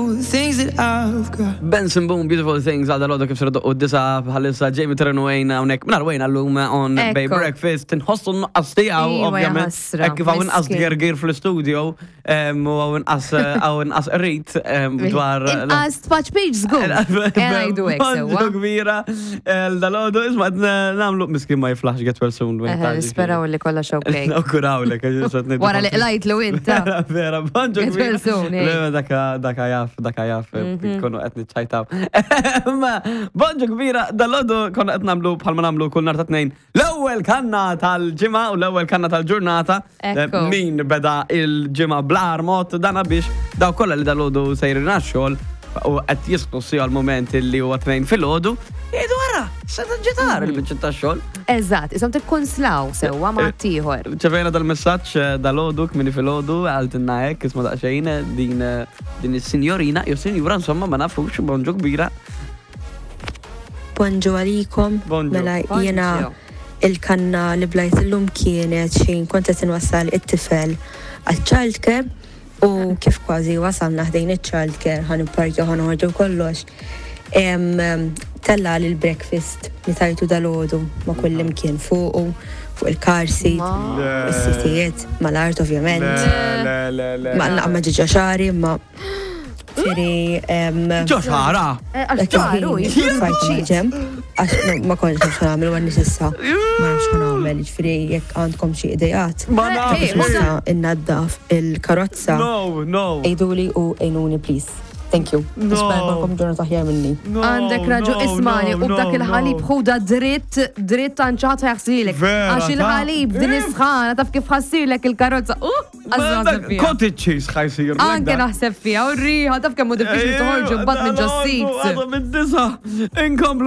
Beautiful things that I've got. Benson Boone, Beautiful Things, għal dal-għodu kif sirdu u disa bħalissa Jamie Terren Wayne hawnhekk mingħajr Wayne għallum on Bay Ekku. Breakfast inħossu n-nuqqas tiegħu Iva, ovvjament. jaħasra, Hekk kif hawn inqas miskin. gergir fl-istudio u hawn inqas hawn inqas qrid dwar Inqas tfaċ page żgur. Ngħidu hekk sewwa. Bonġu kbira dal-għodu isma' qed nagħmlu miskin ma jiflaħx get well soon. Wayne, Eħe, ta' Nisperaw li kollox okej. Nawgurawlek, għax qed ngħidu Wara li qlajtlu int. ta. Vera, bonġu Get well soon, eh. Le, daka, daka jaf, daka jaf, konu qed niċċajtaw. Ma, bonġu kbira, dal-għodu konna qed nagħmlu bħalma nagħmlu kull nhar ta' tnejn. L-ewwel kanna tal-ġimgħa u l-ewwel kanna tal-ġurnata. Ekku. Min beda il-ġimgħa bl-agħar mod dana biex daw kollha li dal-għodu sejrin għax-xogħol u qed jisqu si għal-moment li huwa tnejn filgħodu, jgħidu ara, se ġitar il-biċċa tax-xogħol. Eżatt, isom tikkunslaw sewwa ma' ieħor. Ċevejna dal-messaġġ dal-għodu, kmini fil-għodu, għaltinna hekk, isma daqsxejn, din din is-sinjorina, jew sinjura insomma ma nafux, bonġu kbira. Bonġu għalikom. Bonġu. Mela Bonġu. jiena il-kanna li blajt illum kienet xejn kont qed inwassal it-tifel għaċ-childcare u kif kważi wasalna ħdejn iċ-childcare ħa nipparkjaw ħa noħorġu kollox. Tella' l-breakfast li tajtu dalgħodu ma' kullimkien fuqu, fuq il-car seat, fuq is-sitijiet, mal-art ovvjament. Le, le, le. Ma naqma ġiġa xari imma Ġifieri Ġo xara! Għax ċaru, ġemp, għax ma kontx naf x'nagħmel u għandi s'issa ma nafx x'nagħmel, ġifieri jekk għandkom xi ideat. Ma nafx. Nista' innaddaf il-karozza. No, no. Għiduli u għinuni please. Thank you. Nispera jkollkom ġurnata aħjar minni. Għandek raġu ismani u b'dak il-ħalib ħuda dritt, dritt għand xi ħadd ħajaħsilek. Vera, Għax il-ħalib din is-sħana taf kif ħassirlek il-karozza. Uh, Cottage cheese ħajsir. Anke naħseb fiha u r-riħa taf kemm hu diffiċli toħorġu mbagħad minn ġos-seats. Għadha mid-disa. Inkomplu.